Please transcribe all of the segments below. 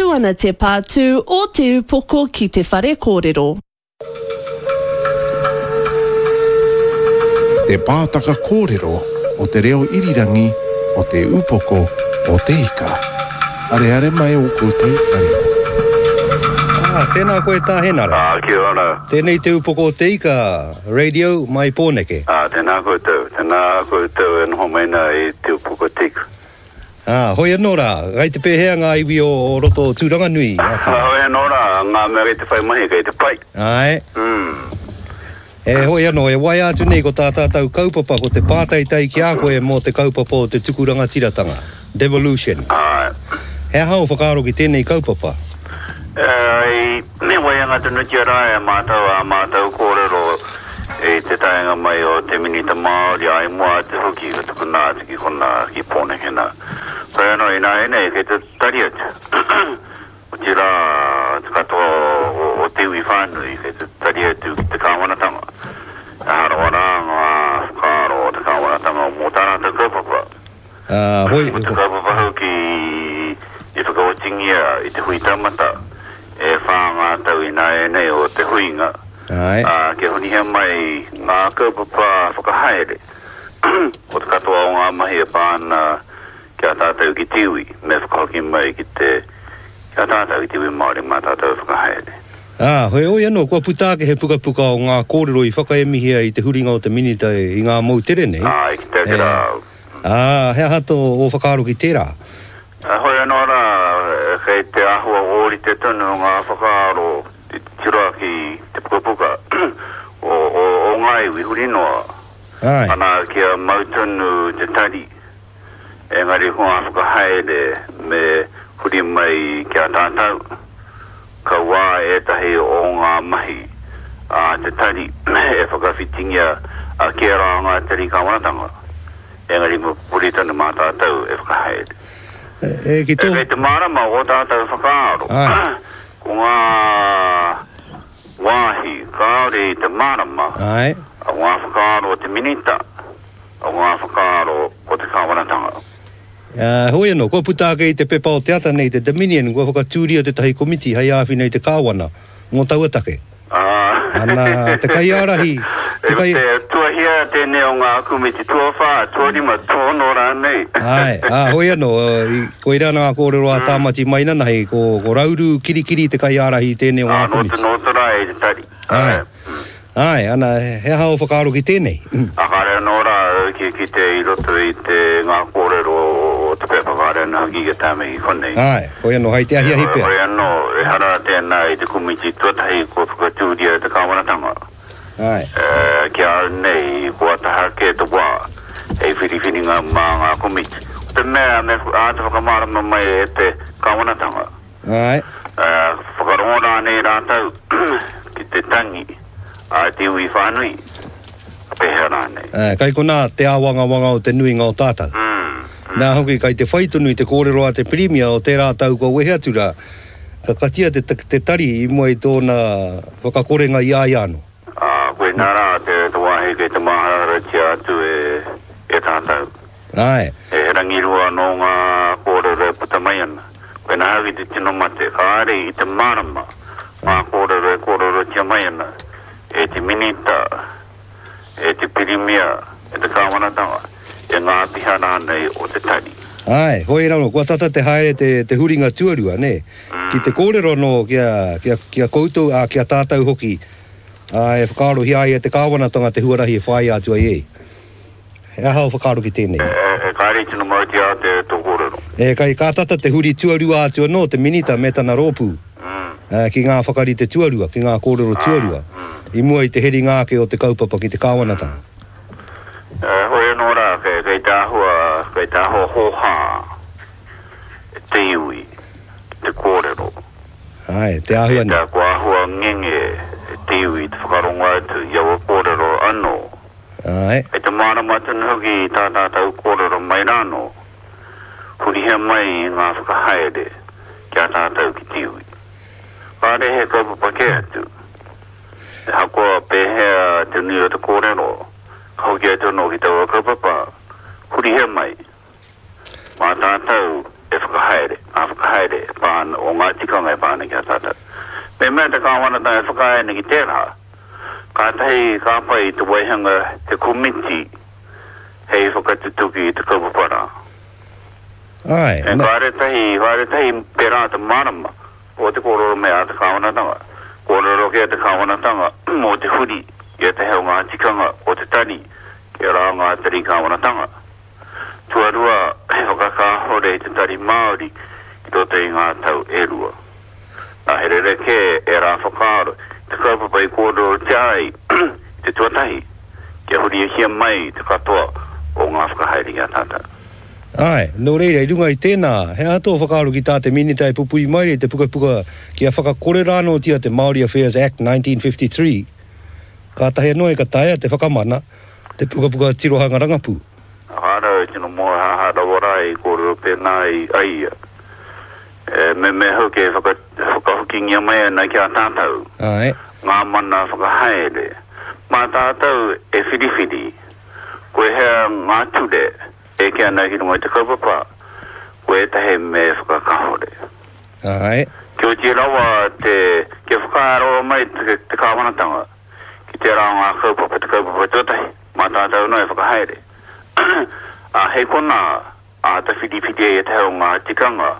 Tū ana te pātū o Te Upoko ki te whare kōrero. Te Pātaka Kōrero o Te Reo Irirangi o Te Upoko o Te Ika. Areare mai ō koutou taringa. Ā, tēnā koe Tā Henare. Ā, kia ora. Tēnei Te Upoko o Te Ika Radio mai Pōneke. Ā, tēnā koutou. Tēnā koutou e noho mai nā i Te Upoko o Te Ika. Ā, hoi anō rā, kei te pēhea ngā iwi o roto o Tūranganui? Ā, hoi anō rā, ngā mea kei te whai mahi, kei te pai. Āe. Mm. E hoi anō, e waea atu nei ko tā tātou kaupapa, ko te pātaitai ki a koe mō te kaupapa o te tuku rangatiratanga, devolution. Āe. He aha ō whakaaro ki tēnei kaupapa? I me waianga tonutia rā e mātou ā mātou kōrero i te taenga mai o te Minita Māori, ā, i mua atu hoki ka tukuna atu ki konā, ki Pōneke nā. Whai anō, ināianei kei te tari atu, otirā te katoa o te iwi whānui kei te tari atu ki te kāwanatanga. He aha rawa rā ngā whakaaro o te kāwanatanga mō tā rātou kaupapa? Ā, hoi. Ko te kaupapa hoki i whakaotingia i te hui taumata, e whā ngā tau ināianei o te huinga, ā, kia hunihia mai ngā kaupapa whakahaere o te katoa o ngā mahi e pā ana ki a tātou ki te iwi, me whakahoki mai ki te, ki a tātou ki te iwi Māori mā tātou e whakahaere. Ā, heoi anō, kua puta ake he pukapuka o ngā kōrero i whakaemihia i te huringa o te Minita i ngā moutere nei. Ā, i kite ake rā au. Ā, he aha tō ō whakaaro ki tērā? Heoi anō rā, kei te āhua ōrite tonu ngā whakaaro i te tiro ki te pukapuka o, o, o ngā iwi huri noa. Āe. Ana kia mau tonu te tari, engari ko ngā whakahaere me huri mai ki a tātou. Kauā ētahi o ngā mahi a te tari e whakawhitingia kē rā ngā tari kāwanatanga, engari me pupuri tonu mā tātou e whakahaere. E, ki tō. Kei te mārama ō tātou whakaaro, ko ngā wāhi kāore i te mārama, o ngā whakaaro o te Minita, o ngā whakaaro o te kāwanatanga. Ā, heoi anō, kua puta ake i te pepa o te ata nei, te Dominion, kua whakatūria tētahi komiti hei āwhina i te Kāwana mō taua take. Ā, Ana, te kaiārahi, te kai. E tuahia tēnei o ngā komiti tuawhā, tuarima, tuaono rānei. Āe, ā, heoi anō, i, koirā ngā kōrero a Tāmati Mainanahi, ko, ko Rauru Kirikiri te kaiārahi i tēnei o ngā komiti. Ā, nō te, nō te rā i te tari. Āe. Āe, ana, he aha ō whakaaro ki tēnei? Ā, kāre anō rā au ki kite i roto i te, ngā kōrero o te pepa, kāre anō hoki kia tae mai ki konei. Āe, hoi anō, hai te ahiahi pea. Hoi anō, ehara tēnā i te komiti tuatahi kua whakatūria e te kāwanatanga. Āe. Ki a au nei, kua taha kē te wā hei whiriwhiringa mā ngā komiti. Ko te mea me āta whakamārama mai e te kāwanatanga. Āe. Ā, whakarongo rānei rātou ki te tangi a te iwi whānui, ka pēhea rānei? Āe, kai konā te āwangawanga o te nuinga o tātou. Nā hoki, kai te whai tonu i te kōrero a te Pirimia o tērā tau kua wehe atu rā, ka katia te, te tari i mua i tōna whakakorenga i a ia anō. Ā, koinā rā te, te wāhi kei te māharaharatia atu e, e tātou. Āe. He rangirua anō ngā kōrero e puta mai ana. Koinā hoki te tino mate, kāre i te mārama ngā kōrero e kōrerotia mai ana e te Minita, e te Pirimia, e te Kāwanatanga, e ngā āpiha rānei o te tari. Āe, hoi raro, kua tata te haere te, te huringa tuarua, nē? Ki te kōrero anō ki a, ki a, ki a koutou, ā, ki a tātou hoki, ā, e whakaarohia ai e te Kāwanatanga te huarahi e whāia atu ai e. He aha ō whakaaro ki tēnei? E kāre i tino mautia te tō kōrero. E kai ka tata te huri tuarua atu anō te Minita me tana rōpū ki ngā whakarite tuarua, ki ngā kōrero tuarua, i mua i te heringa ake o te kaupapa ki te kāwanatanga. Hoi anō rā, kei te āhua, kei te āhua hōhā te iwi ki te kōrero. Āe, te āhua nei. Kei te āhua ngenge te iwi te whakarongo atu i aua kōrero anō. Āe. Kei te mārama tonu hoki i tā tātou kōrero mai rānō, hurihia mai i ngā whakahaere ki a tātou ki te iwi. Kāre he kaupapa kē atu. Ahakoa pēhea te nui o te kōrero, ka hoki atu anō ki taua kaupapa, hurihia mai, mā tātou e whakahaere ngā whakahaere. whakahaere e pā ana, o ngā tikanga e pā ana ki a tātou. Mehemea te kāwanatanga e whakaae ana ki tērā, kātahi ka pai te waihanga he komiti hei whakatutuki i te kaupapa rā. Āe, E na. kāre tahi, kāre tahi pērā te mārama o te kōrero mai a te kāwanatanga. Kōrero kē te kāwanatanga mō te huri i ētahi o ngā tikanga o te tari kia rā ngā tari kāwanatanga. Tuarua, he whakakāhore i te Tari Māori i roto i ngā tau e rua. Nā, he rerekē ērā whakaaro i te kaupapa i kōrerotia ai i te tuatahi, kia hurihia mai te katoa o ngā whakahaere ki a tātou. Āe, nō reira, i runga i tēnā, he aha tō whakaaro ki tā te Minita e pupuri mai nei te pukapuka kia whakakore rānōtia te Māori Affairs Act 1953, kātahi anō e ka taea te whakamana te pukapuka tirohanga rangapū? Whānau e tino mōhāhā rawa rā i kōrero pēnā ai ia. E meme hoki e whakahokingia mai ana ki a tātou ngā mana whakahaere. Mā tātou e whiriwhiri ko hea ngā ture e eke ana ki runga i te kaupapa, ko ētahi me whakakāhore. Kia oti rawa te, kia whakaaro mai te kāwanatanga ki tērā o ngā kaupapa, te kaupapa tuatahi, mā tātou anō e whakahaere. Ā, hei konā āta whiriwhiri ai ētahi o ngā tikanga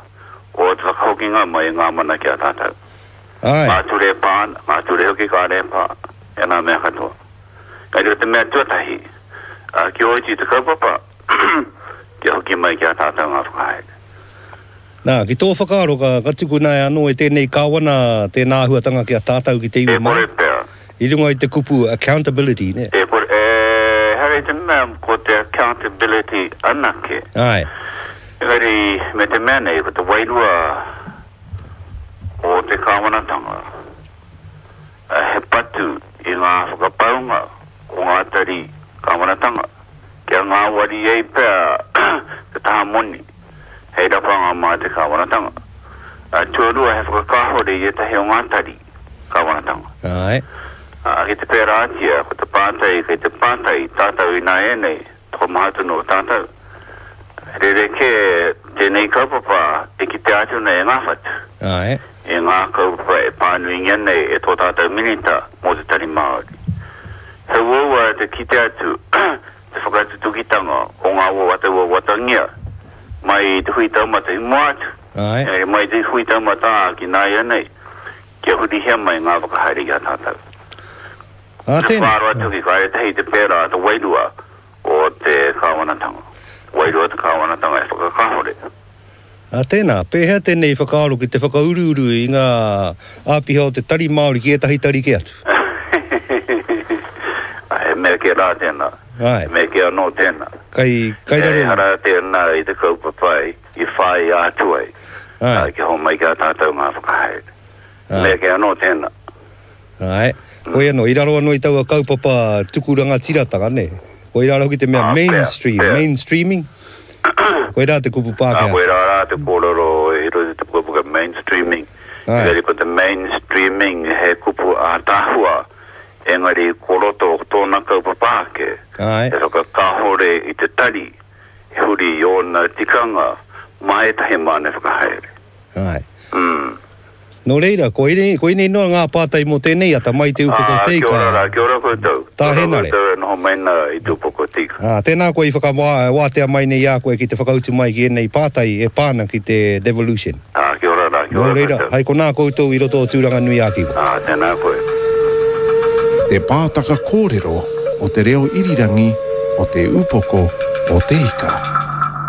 o te whakahokinga mai i ngā mana ki a tātou. Āe. Ngā ture e pā ana, ngā ture hoki kāre e pā, e ngā mea katoa. Engari ko te mea tuatahi, ā, kia oti te kaupapa, kia hoki mai ki a tātou ngā whakahaere. Nā, ki tō whakaaro ka, ka tukuna e anō e tēnei Kāwana tēnā āhuatanga ki a tātou ki te iwi E kore Māori? pea. I runga i te kupu accountability, nē? E kore, ehara i te mea ko te accountability anake. Āe. Engari, me te mea nei, ko te wairua o te Kāwanatanga, he patu i ngā whakapaunga o ngā tari Kāwanatanga, kia ngāwari ai pea te taha moni. hei rapanga mā te kāwanatanga. Tuarua, he whakakāhore i ētahi o ngā tari kāwanatanga. Āe. Ā, ki te pērātia, ko te pātai kei te pātai tātou ināianei, tokomaha tonu o tātou. Rerekē tēnei kaupapa e kitea atu nei e ngā whatu. Āe. E ngā kaupapa e pānuingia nei e tō tātou Minita mō te Tari Māori. He uaua te kite atu te whakatutukitanga o ngā wawata wawatangia mai i te hui taumata i mua atu, Āe. engari mai i te hui taumata ā ki nāianei, kia hurihia mai ngā whakahaere ki a tātou. Ā, Te tēnā. whakaaro atu ki kāre tahi te pērā te wairua o te kāwanatanga. Wairua te kāwanatanga e whakakāhore. Ā, tēnā, pēhea tēnei whakaaro ki te whakauruuru i ngā āpiha o te Tari Māori ki ētahi tari kē atu? He mea kē rā tēnā. Āe. He mea kē anō tēnā. Kai, kai raro. Ehara tēnā i te kaupapa i whāia atu ai. Āe. Kia homai ki a tātou ngā whakahaere. Āe. He mea kē anō tēnā. Āe. Koia anō, i raro anō i taua kaupapa tuku rangatiratanga, nē? Koirā hoki te mea Ā, pea, mainstream, pea. mainstreaming? Koirā te kupu Ā, Pākehā. koirā rā te kōrero i roto i te pukapuka mainstreaming. Āe. Engari ko te mainstreaming he kupu ātaahua, engari ko roto o tōna kaupapa ake, Āe. he whakakāhore i te tari, he huri i ōna tikanga mā ētahi māne whakahaere. Āe. Mm. Nō reira, koinei, koinei noa ngā pātai mō tēnei ata mai Te Upoko Ā, Teika. kia ora rā, kia ora koutou. Tā Kia ora Henare. koutou e noho mai nā i Te Upoko Teika. Ā, tēnā koe i whakawā, wātea mai nei i a koe ki te whakautu mai ki ēnei pātai e pā ana ki te devolution. Ā, kia ora rā, kia Nō ora reira, koutou. hai konā koutou i roto o Tūranganui-ā-Kiwa. Ā, tēnā koe. Te pātaka kōrero o te reo irirangi o Te Upoko o Te Ika.